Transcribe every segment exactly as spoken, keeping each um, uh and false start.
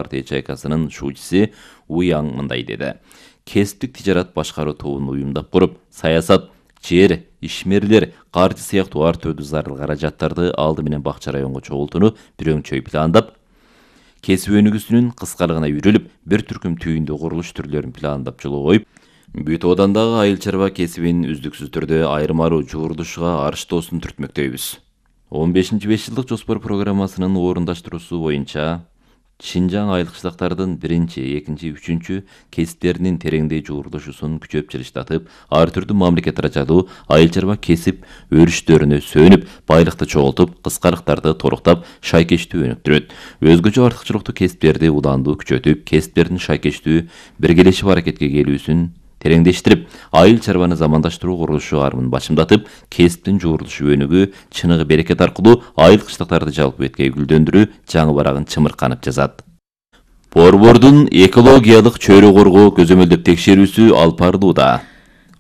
партия чайкасынын шуучусу Уяң мындай деди. Кесиптик тижарат башкаруу тобун уюмдап куруп, саясат, жер, ишмерлер, каржы сыяктуу ар түрдүү зарыл каражаттарды алды менен Бакча районго чогултууну бир өңчөй пландап, кесип өнүгүүсүнүн кыскалыгына үйрөлүп, бир түркүм түйүндүү курулуш түрлөрүн пландап жолго коюп, бүт оодандагы айыл чарба кесибин үздүксүз түрдө айырмалуу жуурдушуга арыштоосун түртмөктөйбүз. он бешинчи беш жылдык жоспор программасынын орундаштыруусу боюнча Шинжаң айыл кыштактардын биринчи, экинчи, үчүнчү кесиптеринин тереңдей жуурдушуусун күчөп жылыштатып, ар түрдүү мамлекет ырачалуу айыл чарба кесип өрүштөрүнө сөнүп, байлыкты чогултуп, кыскалыктарды толуктап, шайкечтүү өнүктүрөт. Өзгөчө артыкчылыктуу кесиптерди улаандуу күчөтүп, кесиптердин шайкечтүү биргелешип аракетке келүүсүн тереңдештирип, айыл чарбаны замандаштыруу курулушу армын башымдатып, кесиптин жуурдушу өнүгүү, чыныгы берекет аркылуу айыл кыштактарды жалпы бетке гүлдөндүрүү жаңы барагын чымырканып жазат. Борбордун экологиялык чөйрө коргоо көзөмөлдөп текшерүүсү алып барылууда.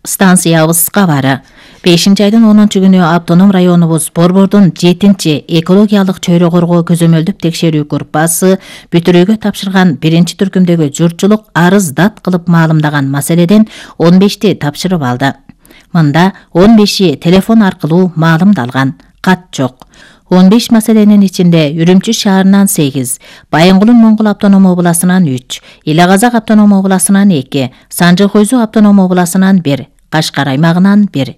Станциябыз кабары. бешинчи айдын онунчу күнү автоном районубуз Борбордун жетинчи экологиялык чөйрө коргоо көзөмөлдөп текшерүү группасы бүтүрүүгө тапшырган биринчи түркүмдөгү журтчулук арыз дат кылып маалымдаган маселеден он бешти тапшырып алды. Мында он беши телефон аркылуу маалымдалган, кат жок. он беш маселенин ичинде Үрүмчү шаарынан сегиз, Байынгулун Моңгул автоном областынан үч, Эле Казак автоном областынан эки, Санжы Хойзу автоном областынан бир, Кашкар аймагынан бир.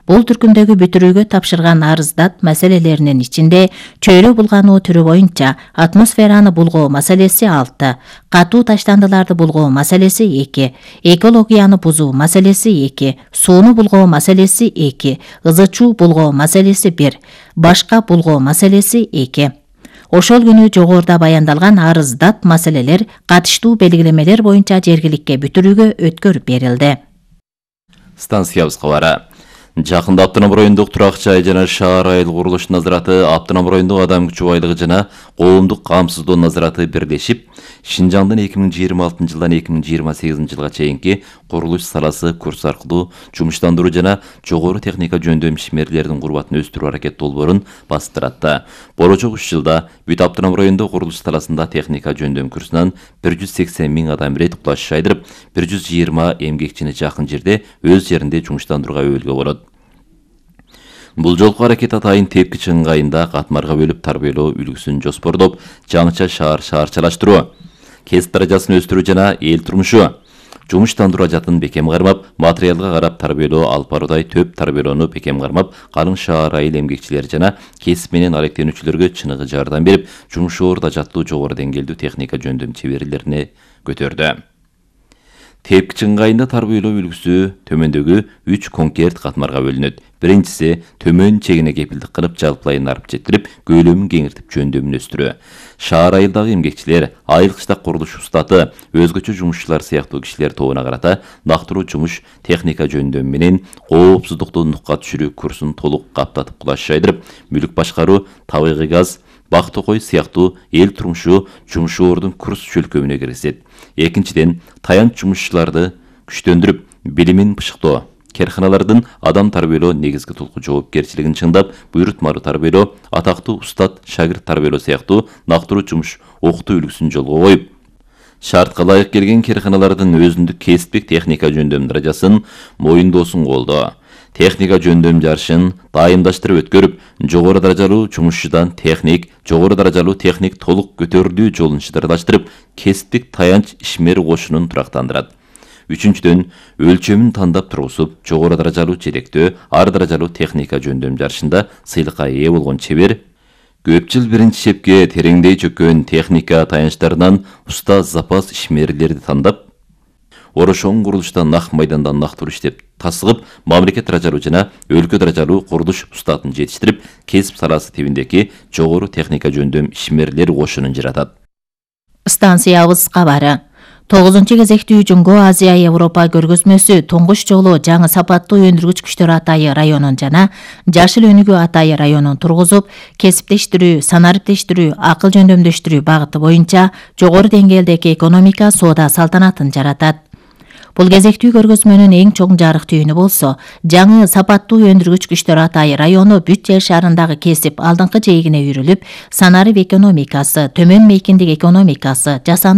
Бул түркүмдөгү бүтүрүүгө тапшырган арыздат маселелеринин ичинде чөйрө булгануу түрү боюнча атмосфераны булгоо маселеси алты, катуу таштандыларды булгоо маселеси эки, экологияны бузуу маселеси эки, сууну булгоо маселеси эки, ызычуу булгоо маселеси бир, башка булгоо маселеси эки. Ошол күнү жогоруда баяндалган арыздат маселелер катыштуу белгилемелер боюнча жергиликке бүтүрүүгө өткөрүп берилди. Станциябыз кабары. Жакында Автоном райондук турак жай жана шаар айыл курулуш назараты, Автоном райондук адам күчү байлыгы жана коомдук камсыздоо назараты бирлешип, Шинжаңдын эки миң жыйырма алтынчы жылдан эки миң жыйырма сегизинчи жылга чейинки курулуш саласы курс аркылуу жумуштандыруу жана жогору техника жөндөм ишмерлердин курбатын өстүрүү аракет долбоорун бастыратты. Болочок үч жылда бүт Автоном райондук курулуш саласында техника жөндөм курсунан бир жүз сексен миң адам рет кулаш шайдырып, бир жүз жыйырма эмгекчини жакын жерде өз жеринде жумуштандырууга өбөлгө болот. Бул жолку аракет атайын тепкичи ыңгайында катмарга бөлүп тарбиялоо үлгүсүн жоспордоп, жаңыча шаар шаарчалаштыруу, кесип даражасын өстүрүү жана эл турмушу, жумуштандыруу ажатын бекем кармап, материалга карап тарбиялоо алып баруудай төп тарбиялоону бекем кармап, калың шаар айыл эмгекчилери жана кесип менен алектенүүчүлөргө чыныгы жардам берип, жумуш орду ажаттуу жогору деңгээлдүү техника жөндөм чеберлерине көтөрдү. Тепкичи ыңгайында тарбиялоо үлгүсү төмөндөгү үч конкрет катмарга бөлүнөт. Биринчиси төмөн чегине кепилдик кылып жалпылайын арып жеткирип, көйлөмүн кеңиртип жөндөмүн өстүрүү. Шаар айылдагы эмгекчилер, айыл кыштак курулуш устаты, өзгөчө жумушчулар сыяктуу кишилер тобуна карата нактыруу жумуш техника жөндөм менен коопсуздукту нукка түшүрүү курсун толук каптатып кулаш жайдырып, мүлүк башкаруу, табигый газ, бак токой сыяктуу эл турмушу жумушчулардын курс чөлкөмүнө киргизет. Экинчиден, таянч жумушчуларды күчтөндүрүп, билимин бышыктоо, керканалардын адам тарбиялоо негизги тулку жоопкерчилигин чыңдап, буйрутмалуу тарбиялоо, атактуу устат шагирт тарбиялоо сыяктуу нактыруу жумуш окутуу үлгүсүн жолго коюп, шартка ылайык келген керканалардын өзүндүк кесиптик техника жөндөм даражасын моюндоосун колдоо. Техника жөндөм жарышын дайымдаштырып өткөрүп, жогору даражалуу жумушчудан техник, жогору даражалуу техник толук көтөрүлүү жолун шыдырдаштырып, кесиптик таянч ишмер кошунун турактандырат. Үчүнчүдөн, өлчөмүн тандап тургузуп, жогору даражалуу желектөө, ар даражалуу техника жөндөм жарышында сыйлыкка ээ болгон чебер, көп жыл биринчи шепке тереңдей чөккөн техника таянчтарынан уста запас ишмерлерди тандап, орошоң курулуштан нак майдандан нактыруу иштеп тасыгып, мамлекет даражалуу жана өлкө даражалуу курулуш устатын жетиштирип, кесип саласы тибиндеги жогору техника жөндөм ишмерлер кошунун жаратат. Станциябыз кабары. тогузунчу кезектүү Жумго Азия Европа көргөзмөсү туңгуч жолу жаңы сапаттуу өндүргүч күчтөр атайы районун жана жашыл өнүгүү атайы районун тургузуп, кесиптештирүү, санариптештирүү, акыл жөндөмдөштүрүү багыты боюнча жогору деңгээлдеги экономика соода салтанатын жаратат. Бул кезектүү көргөзмөнүн эң чоң жарык түйүнү болсо, жаңы сапаттуу өндүргүч күчтөр Атай району бүт жер шарындагы кесип алдыңкы жээгине үрүлүп, санарып экономикасы, төмөн мейкиндик экономикасы, жасанды